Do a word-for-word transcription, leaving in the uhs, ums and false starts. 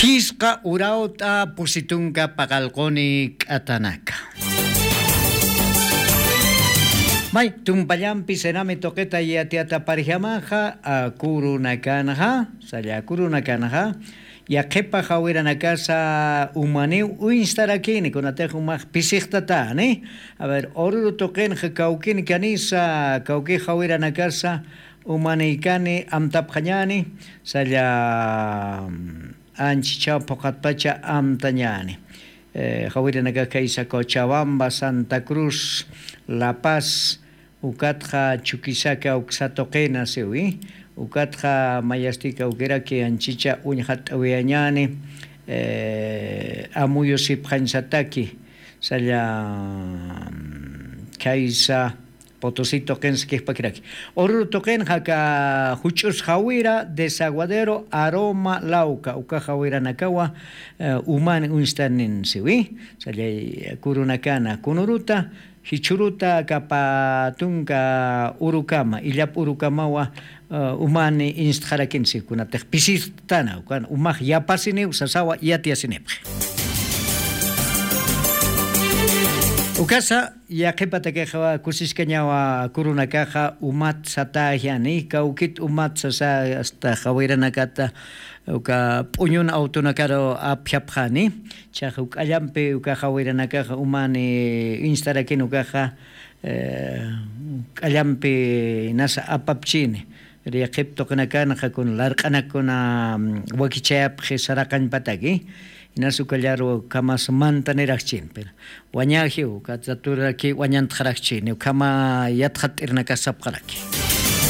Phisqa urawt'a pusi tunka paqallquni k'atanaka. May tumpallampi senami tuqita yatiyataparjamaxa, kurunakanxa, salla kurunakanxa, yaqhipa jawiranakasa umaniw uñstarakini kunatix umax pisiqtatani. A ver, ururu tuqinxa kawkini kanisa kawki jawiranakasa, umaniykani amtapxañani, salla anchichaw phuqatpacha amtañani. Jawirinaka kaysa cochabamba, santa cruz, la paz, ukatxa chukisaka uksa tuqina siwi. Ukatxa mayastika ukiraki anchicha uñxat'awiyañani. Amuyusipxañsataki salla kaysa, potosito qinsa kixpakiraki. Ururu tuqinxa aka juch'us jawira desaguadero aroma lauka uka jawiranakawa, umani uñstanin siwi. Sallay kurunakana kunuruta, jichhuruta kapa tunka urukama illap urukamawa, umani instxarakin sikunatix pisistana ukan umax yapasiniw sasawa yatiyasinipxi. Ukasa yaqhipatakixa kusiskañawa kurunakaxa umat satäjani kawkit umat sasa asta jawiranakata uka p'uñun awtunakaru apjapxani. Chax uk'allampi uka jawiranakaxa umani instarakin ukaxa k'allampi nasa apapchini. Yaqhip tuqinakanxa kuna larq'anakuna wakichayapxi saraqañpataki. Inas ukallaru khamas mantanirakchin pero wañajiw kataturaki wañantxarakchini ukhama yatxat'irnakasapxaraki.